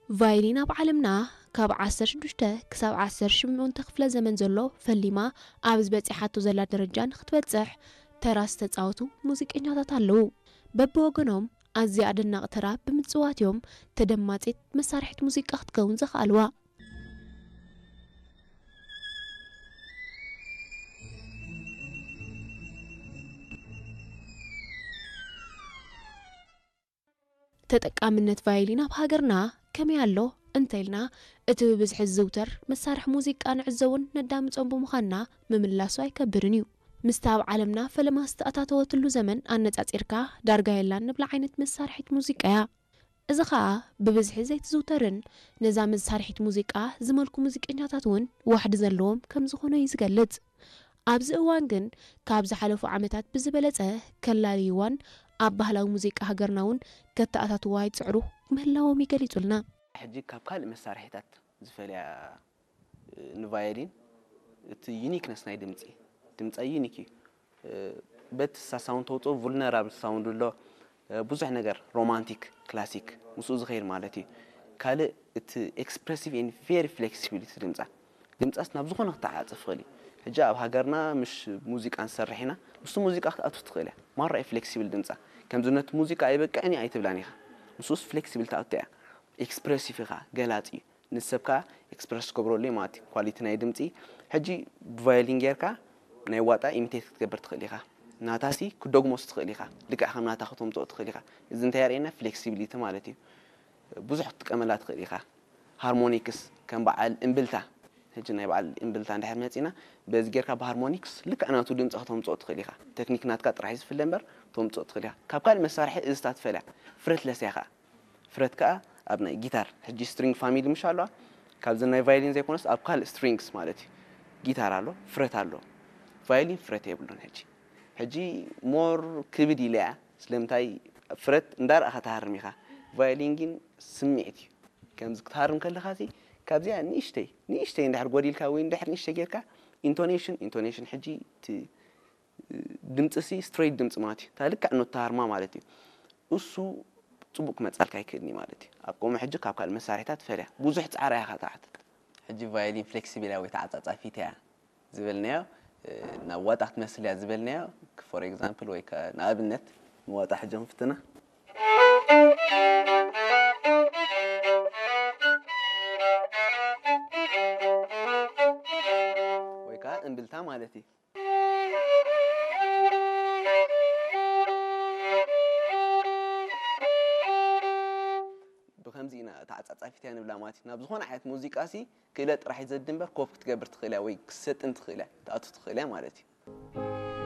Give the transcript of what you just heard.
ቫዮሊን ኣብ ዓለምና ካብ ዓሰርተ ሽዱሽተ ክሳብ ዓሰርተ ሸሞንተ ክፍለ ዘመን ዘሎ ፈሊማ ኣብ ዝበጺሓቶ ዘላ ደረጃ ንክትበጽሕ ተራ ዝተጻወቱ ሙዚቀኛታት ኣለዉ። በብወገኖም ኣዝያ ኣደናቂ ተራ ብምጽዋት እዮም ተደማጺት መሳርሒት ሙዚቃ ክትከውን ዘኽኣልዋ። ተጠቃምነት ቫዮሊን ኣብ ሃገርና ከመይ ኣሎ እንተኢልና፣ እቲ ብብዝሒ ዝዝውተር መሳርሒ ሙዚቃ ንዕዘቦን ነዳምጾን ብምዃንና ምምላሱ ኣይከብድን እዩ። ምስቲ ኣብ ዓለምና ፈለማ ዝተኣታተወትሉ ዘመን ኣነጻጺርካ ዳርጋ የላን ንብላ ዓይነት መሳርሒት ሙዚቃ እያ። እዚ ኸኣ ብብዝሒ ዘይትዝውተርን ነዛ መሳርሒት ሙዚቃ ዝመልኩ ሙዚቀኛታት እውን ዋሕዲ ዘለዎም ከም ዝኾኑ እዩ ዝገልጽ። ኣብዚ እዋን ግን ካብ ዝሓለፉ ዓመታት ብዝበለጸ ከላልይዋን ኣብ ባህላዊ ሙዚቃ ሃገርና እውን ከተኣታትዋ ይጽዕሩ ምህላዎም ይገሊጹልና። ሕጂ ካብ ካልእ መሳርሒታት ዝፈልያ ንቫዮሊን እቲ ዩኒክነስ ናይ ድምፂ ድምፃ ዩኒክ እዩ። በቲ ሳሳውንድ ተውፅኦ ቡልነራብል ሳውንድ ኣሎ። ብዙሕ ነገር ሮማንቲክ ክላሲክ ምስኡ ዝኸይድ ማለት እዩ። ካልእ እቲ ኤክስፕሬሲቭ ን ቨሪ ፍሌክሲቢሊቲ ድምፃ ድምፃስ ናብ ዝኾነ ክተዓፅፍ ይኽእል እዩ። ሕጂ ኣብ ሃገርና ምሽ ሙዚቃ ንሰርሕ ኢና፣ ምስቲ ሙዚቃ ክትኣቱ ትኽእል እያ። ማራ እዩ ፍሌክሲብል ድምፃ። ከምዚ ነቲ ሙዚቃ ኣይበቅዕን እዩ ኣይትብላን ኢኻ። ምስኡስ ፍሌክሲብል ትኣቱ እያ። ኤክስፕሬሲቭ ኢኻ፣ ገላፂ እዩ። ንሰብ ከዓ ኤክስፕረስ ትገብረሉ እዩ ማለት እዩ። ኳሊቲ ናይ ድምፂ ሕጂ ብቫዮሊን ጌርካ ናይ ዋጣ ኢሚቴት ክትገብር ትኽእል ኢኻ። ናታሲ ክደግሞስ ትኽእል ኢኻ። ልክዕ ከም ናታ ከተምፅኦ ትኽእል ኢኻ። እዚ እንታይ የርእየና? ፍሌክሲቢሊቲ ማለት እዩ። ብዙሕ ክትጥቀመላ ትኽእል ኢኻ። ሃርሞኒክስ ከም በዓል እምብልታ፣ ሕጂ ናይ በዓል እምብልታ እንድሕር መፂና በዚ ጌርካ ብሃርሞኒክስ ልክዕ ናቱ ድምፂ ከተምፅኦ ትኽእል ኢኻ። ቴክኒክ ናትካ ጥራሕ እዩ ዝፍለ እምበር ተምፅኦ ትኽእል ኢኻ። ካብ ካልእ መሳርሒ እዝታ ትፈልያ ፍረትለስ እያ ከዓ። ፍረት ከዓ ኣብ ናይ ጊታር ሕጂ ስትሪንግ ፋሚሊ ምሽ ኣለዋ። ካብዚ ናይ ቫዮሊን ዘይኮነስ ኣብ ካልእ ስትሪንግስ ማለት እዩ። ጊታር ኣሎ፣ ፍረት ኣሎ። ቫዮሊን ፍረት የብሉን። ሕጂ ሕጂ ሞር ክብድ ኢለ እያ። ስለምንታይ ፍረት እንዳረኣኻ ትሃርም ኢኻ። ቫዮሊን ግን ስምዒት እዩ። ከምዚ ክትሃርም ከለኻ ሲ ካብዚኣ ንእሽተይ ንእሽተይ እንድሕር ጎዲልካ ወይ እንድሕር ንእሽተይ ጌርካ ኢንቶኔሽን ኢንቶኔሽን ሕጂ እቲ ድምፂ ሲ ስትሬት ድምፂ ማለት እዩ። እታ ልክዕ ኖታ ሃርማ ማለት እዩ። እሱ ፅቡቅ ክመፃልካ ኣይክእልኒ ማለት እዩ። ኣብ ከምኡ ሕጂ ካብ ካልእ መሳርሒታት ፈልያ ብዙሕ ፃዕራ ኢኻ ትሓትት። ሕጂ ቫዮሊን ፍሌክሲብል እያ ወይ ተዓፃፃፊት እያ ዝበልናዮ ናብ ዋጣ ክትመስል እያ ዝበልናዮ። ፎር ኤግዛምፕል ወይ ከ ንኣብነት ንዋጣ ሕጂ ክንፍትና ወይ ከዓ እምብልታ ማለት እዩ። ብከምዚ ኢና ተዓፃፃፊት እያ ንብላ ማለት እዩ። ናብ ዝኾነ ዓይነት ሙዚቃ ሲ ክእለት ጥራሕ እዩ ዘድሊ እምበር ኮፕ ክትገብር ትኽእል እያ ወይ ክሰጥን ትኽእል እያ ትኣቱ ትኽእል እያ ማለት እዩ።